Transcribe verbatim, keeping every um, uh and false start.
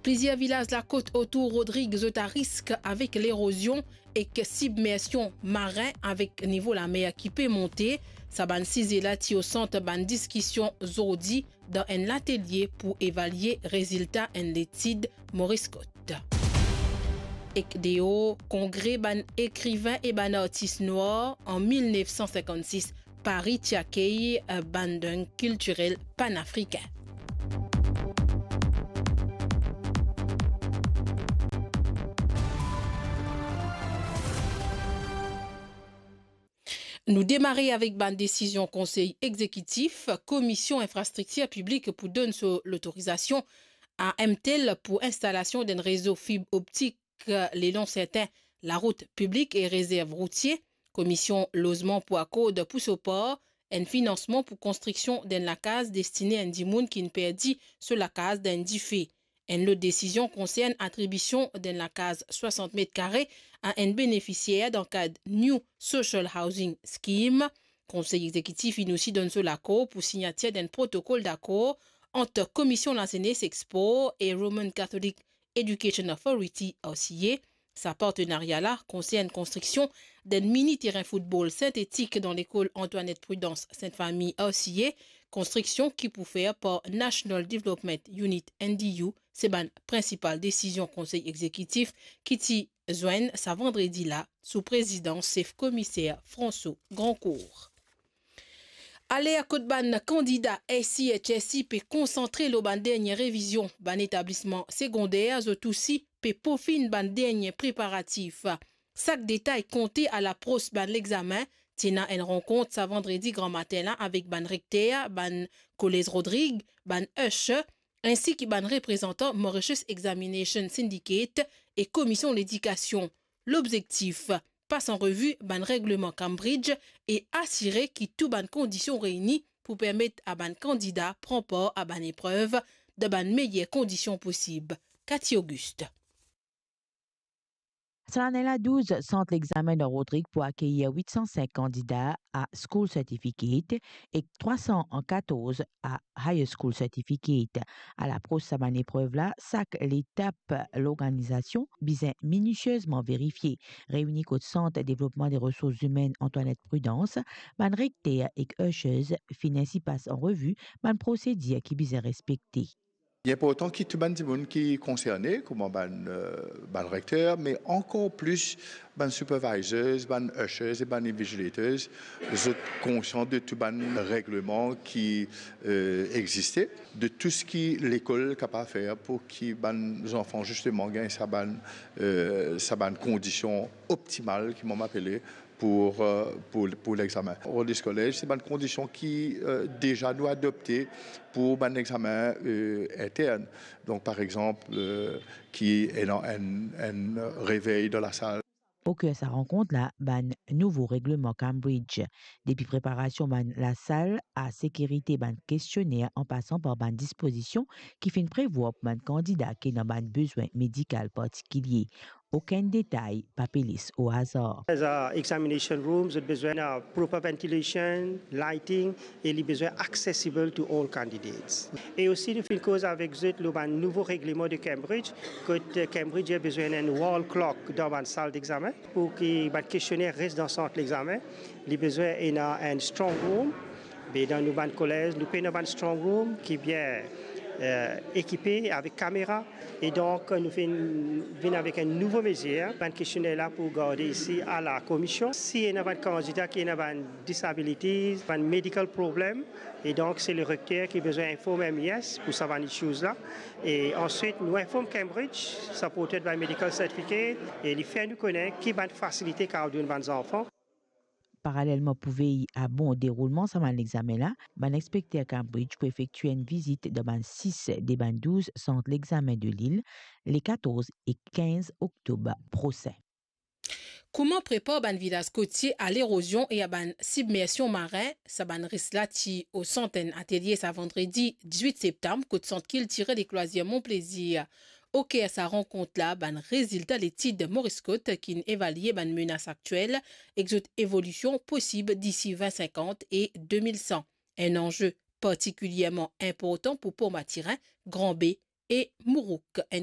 Plizier vilaz lakot otour Rodrig zot arisk avek lerozion ek sibmersion marin avek nivo lamer ki pe monte. Sa bann size la ti o sant bann diskision zordi dan enn latelie pou evalie rezilta enn letid Maurice Scott. Ek deor, kongre bann ekriven e bann artis nwar an mil nef san sinkannsis, Pari ti akey, eh, bann deng kiltirel panafrikin. Nou demare avek bann desizion Konsey Egzekitif. Komisyon Infrastriktir Piblik pou donn so lotorizasion a M T L pou instalasion d'enn rezo fib optik lelong sertin larout piblik e rezerv routie. Komisyon Lozman pou akord pou so par enn finansman pou konstriksion d'enn lakaz destine enn dimoun ki'nn perdi so lakaz dan enn dife. Enn lot desizion konsern atribision d'enn lakaz swasant met kare a enn benefisier dan kad New Social Housing Scheme. Konsey Egzekitif inn osi donn so lakor pou signatir d'enn protokol dakor ant Komisyon Lazenes ek Spor e Roman Catholic Education Authority, R C A. Sa partenaria la konsern konstriksion d'enn mini terin foutbol sintetik dan lekol Antoinette Prudence Sainte Famille, R C A, konstriksion ki pou fer par National Development Unit, N D U. Se bann prinsipal desizion Konsey Egzekitif ki ti zwenn sa vandredi la sou prezidans sef komiser François Grandcourt. Aler kot bann kandida S C H S C pe konsantre lor bann dernie revizion, bann etablisman segonder zot osi pe pofinn bann dernie preparatif. Sak detay konte a lapros bann lexamen. Ti ena enn rankont sa vandredi gramatin la avek bann rekter bann kolez Rodrig, bann usher, ensi ki bann reprezantan Mauritius Examination Syndicate e Komisyon Ledikasion. Lobzektif, pas an revi bann regleman Cambridge e asire ki tou bann kondision reyni pou permet a bann kandida pran par a bann eprev dan bann meyer kondision posib. Cathy Auguste. Sa lane la, douz sant lexamen dan Rodrig pou akeyir wit san sink kandida a School Certificate ek trwa san katorz a Higher School Certificate. A lapros sa bann eprev la, sak letap lorganizasion bizin minisiezman verifie. Reyini kot Sant Devlopman de Resours Imenn Antoinette Prudence, bann rekter ek ushers finn osi pas an revi bann prosedir ki bizin respekte. Li inportan ki tou bann dimoun ki konserne, kouma bann, eh, bann rekter, me ankor plis bann supervisors, bann ushers e bann invigilators, zot konsian de tou bann regleman ki, eh, existe, de tou seki lekol kapav fer pou ki bann zanfan zisteman gagn sa bann, eh, sa bann kondision optimal ki mo apele pou, eh, pou, pou lexamen. Rodrigues College, se bann kondision ki, eh, deza nou adopte pou bann lexamen, eh, intern. Donk, par exanp, eh, ki ena enn, enn revey dan lasal. Oker sa rankont la, bann nouvo regleman Cambridge, depi preparasion bann lasal a sekirite bann kestionner an pasan par bann dispozision ki finn prevwar pou bann kandida ki ena bann bezwin medikal partikilie. Okenn detay pa pe les o azar. As a examination room, zot bizin ena proper ventilation, lighting, e li bizin accessible to all candidates. E osi nou finn koz avek zot lor bann nouvo regleman de Cambridge, kot, eh, Cambridge bizin enn wall clock dan bann sal dexamen pou ki bann kestionner res dan sant lexamen. Li bizin ena enn strong room, be dan nou bann kolez, nou pena bann strong room ki bien, eh, ekipe avek kamera. E donk, nou finn vinn avek enn nouvo mezir. Bann kestionner la pou garde isi a la komisyon. Si ena bann kandida ki ena bann disabilities, bann medical problem, e donk se le rekter ki bizin inform M E S pou sa bann issues la. E answit, nou inform Cambridge, supported by medical certificate, e li fer nou kone ki bann fasilite kapav donn bann zanfan. Paralelman, pou vey a bon deroulman sa bann lexamen la, bann inspekter Cambridge pou efektue enn vizit dan bann sis de bann douz sant lexamen de lil, le katorz e kinz oktob prosin. Kouma prepar bann vilaz kotie a lerozion e a bann sibmersion marin? Sa bann risk la ti o sant enn atelie sa vandredi diz-wit septam kot Sant Kiltirel ek Lwazir Mon Plaisir. Oker sa rankont la, bann rezilta letid Maurice Scott ki'nn evalie bann menas aktiel ek zot evolision posib disi vin sinkant e de mil san. Enn anze partikilierman inportan pou Port Mathurin, Grand Baie e Mourouk. Enn